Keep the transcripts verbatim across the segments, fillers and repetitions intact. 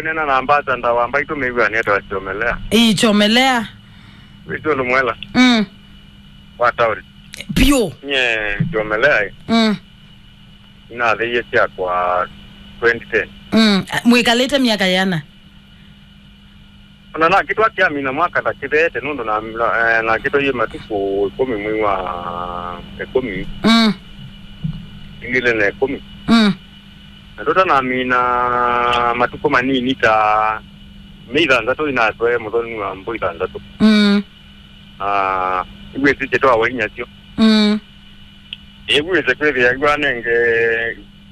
Nena na ambassador wa Mbaitũ mĩw'anĩ etwa Chomelea. Ĩĩ, Chomelea. Wĩsĩ ũndũ mwela. Mm. Wa taoni. Pio. Nye Chomelea ĩ. Mm. Nathĩie syakwa twenty ten. Mm. Mwĩkalĩte myaka yana? Ona nakĩtwa kĩamina mwaka ta kĩtheete nũndũ na, na, eh, nakĩtwa yĩ matukũ ĩkũmi mwei wa ĩkũmi. Mm. Ngili na ĩkũmi. Mm. Na tũtanamina matukũ manini ta mĩ ithanthatũ inatwae mũthoni wa mbũ ithanthatũ. Mm. Ah, iwĩsĩ kyĩtwa wainya syo. Mm. Ĩwĩsĩ kwĩthĩa iwanenge,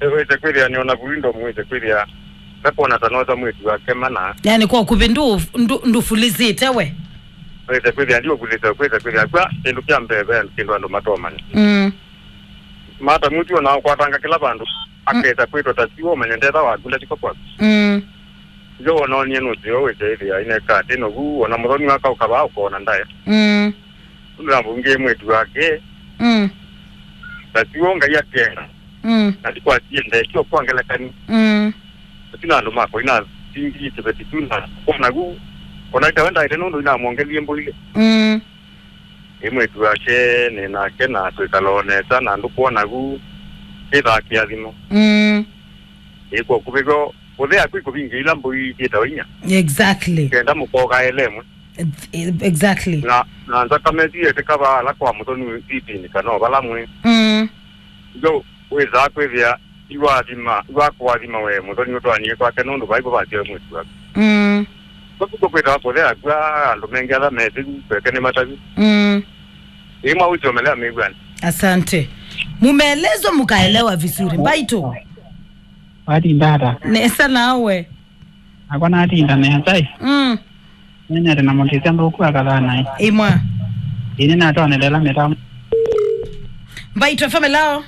wĩsĩ kwĩthĩa nĩ ona vuindo mwĩsĩ kwĩthĩa. Ndakuona ta nosa mwĩtu wake mana. Yani kwa kuvĩ ndu, ndu, ndufulizite we. Wĩsĩ kwĩthĩa ndio kulisa kwĩsĩ kwĩthĩa kwa kĩndũ kya mbee ve kĩndũ andũ matomanya. Mm. Mata mutu ona kwatanga kila vandu. Akesa kwĩtwa ta siwo manya ndetha waku ndatiko kwaku. Mm. Yo wona onie nũseo wĩsyaĩthĩa ineka atĩ novu ona mũthoni waka ũkavaa ũkona ndae. Mm. Ũndũ na mbunge mwĩtu wake. Mm. Na siwo Ngai akenda. Mm. Na ndikwatie ndekio kwa ngelekani. Mm. Atina andũ makwa ina singi kĩveti tu na kona gu. Ona itawe ndaĩte nũndũ inamwongelie mbũile. Mm. Ĩ mwĩtu wake nĩ nake na twĩkala o nesa na ndũkwona gu. Kĩthaa kĩathimo. Mm. Ĩkwo kũvĩgo. Kũthea kwĩ kũvingĩ ila mbũi syĩtawa inya. Exactly. Kenda mũkoka elemwe. Exactly. Na, na nzakame siete kava ala kwa mũthoni sitini kana o vala mwĩ. Mm. Ndio wĩsaa kwĩthĩa iwathima, iwakũathima we mũthoni ũtwanie kwake nũndũ vaivo vasyoe mwĩtu waku. Mm. Kũsuko kwĩtawa kũthea kwa andũ mengĩ ala methĩu kweke nĩ matavi. Mm. Ĩĩ mwaũchomelea mĩw'ani. Asante. Mumeelezwa mkaelewa vizuri. Mbaitũ. Watinda ata? Nesa nawe. Nakwa natinda nesa ĩ. Mm. Nĩnete na mũndĩsya nthũku akathana ĩ. Imwa. Ĩnĩ natonelela mĩtambo. Mbaitũ F M, hello.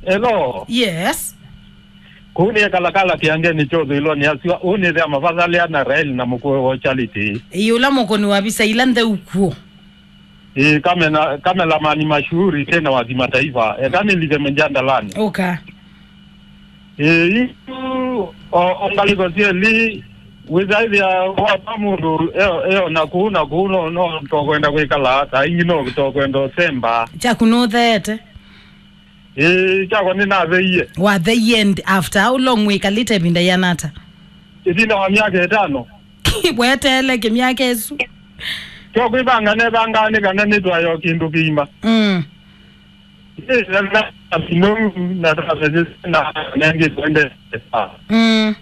Hello. Yes. Kũu nĩ kalakala kĩangeni kyothe iloni asua. Ũũ nĩ thea mavathalea na Rael na mũkũe wa Charity. Ĩĩ, ũla mũkũni wa visa ila ntheu kuo. Ĩĩ, kamena, kamelamani mashuhuri tena wa kimataifa. Eka nĩlike mjandalani. Ũka. Ĩĩ, yu, o, o ngalĩko syelĩ, wĩsaĩthĩa wata mũndũ eo, eo na kũu na kũu no, no tokwenda kwĩkala, saa ingĩ no tokwenda ũsemba. Kyaku nũtheete? Ĩĩ, kyakwa nĩnatheie. Watheie and after how long wĩkalĩte ĩvinda yĩana ata? Ĩvinda wa myaka ĩtano. Weteele kĩmyaka ĩsu. Kyo kwĩvanga nevangaa nĩ kana nĩtwayo kĩndũ kĩima. Mm. Ĩĩ, na, na, na, na, na, na, nengĩ twende. Mm.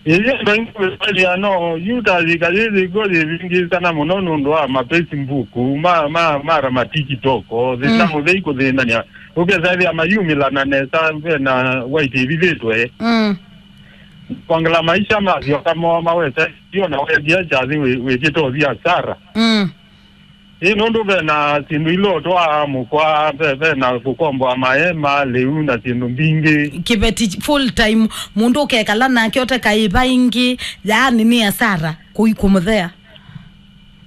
Ĩĩ, ndo ingĩ wĩvalia no, yu ta yĩka yĩthĩkwa yĩvingĩsana mũno nũndũ wa ma Facebook, ma, ma, mara ma TikTok, thĩna mũthei kũthĩnania. Ũkesa ĩthĩa mayumĩlana nesa, ve na white ĩvithĩtwe. Mm. Kwangala maisha masyoka moo mawesa, sio na wendia kyathi wĩ-, wĩkĩte ũthi asara. Mm. Ĩ nũndũ ve na syĩndũ ila ũtwaa mũkwa, ve, ve na kũkomboa maema, lĩu na syĩndũ mbingĩ. Kĩveti full time, mũndũ ũkekala nake ũteka ĩva ĩngĩ, yaani nĩ asara kũi kũmũthea.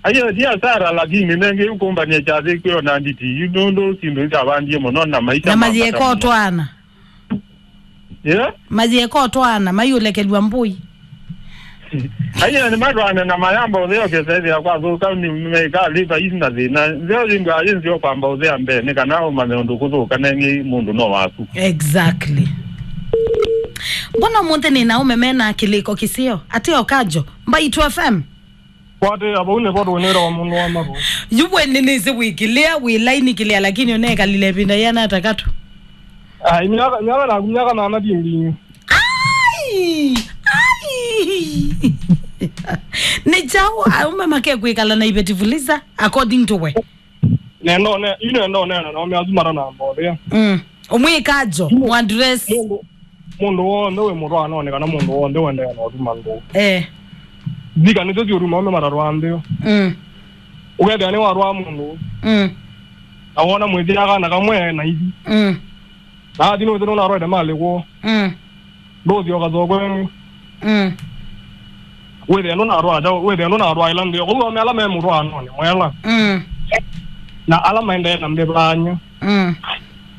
Aiyo, ti asara, lakini nengĩ ũkũmbany'a kyathi kwĩ ona nditi, yu nũndũ syĩndũ ikavandie mũno na maisha na ma mayĩeka bata mũno. Ũtwaana. Yeah? Mayĩeka ũtwaana, mayũlekelw'a mbũi. Aiyo, nĩ matwaane na mayamba ũtheo kĩsethĩa kwathũka, nĩ meka liva isi na thĩna. Nzeo yĩndũ ayĩ nzeo kwamba ũthea mbee, nĩ kana ũmanye ũndũ kũthũka nengĩ mũndũ no waku. Exactly. Mbona ũmũnthĩ nĩ na ũmeme na kĩlĩko kĩseo? Atĩ Okajo, Mbaitũ F M. Kwatĩĩa vau nĩvo tũnĩrawa mũndũ wa mathũ. Yu we nĩnĩsĩ wĩkĩlĩa, wĩ laini kĩlĩa, lakini ũnekalile ĩvinda yĩana ata katũ? Ai, myaka, myaka naku, myaka nana ti mbingĩ. Ai! Ai! Nĩ kyaũ aũme makekwĩkala na iveti fuliza, according to we? Nenda one, yu nenda oneana nao me asu matanamba ũthĩa. Mm. Ũmwĩka ajo, mũandress. Mũndũ, mũndũ w'onthe wĩ mũtwaanonĩ kana mũndũ w'onthe ũendeea na ũtuma nthũ. Eh. Thika nĩsyo syũtuma ũme matatwaa nthĩ. Mm. Ũkethĩa nĩwatwaa mũndũ. Mm. Na wona mwĩthĩa kana kamwe na ithi. Mm. Na athi nũthĩ nũnatwaĩte malĩ kwoo. Mm. Ndũthi ũkathoa kwenu. Mm. Wĩthĩa ndũnatwaa kyaũ, wĩthĩa ndũnatwaĩla nthĩ. Kũu ome ala me mũtwaanonĩ mwela. Mm. Na ala maendee na mĩvaany'a. Mm.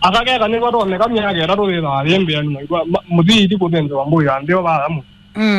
Akakeka nĩvatonyeka myaka ĩtatũ yĩthaa yĩ mbĩanĩ maitwa, ma-, mũthii ithi kũthĩnzĩwa mbũi ya nthĩ o vaya mũsyĩ. Mm.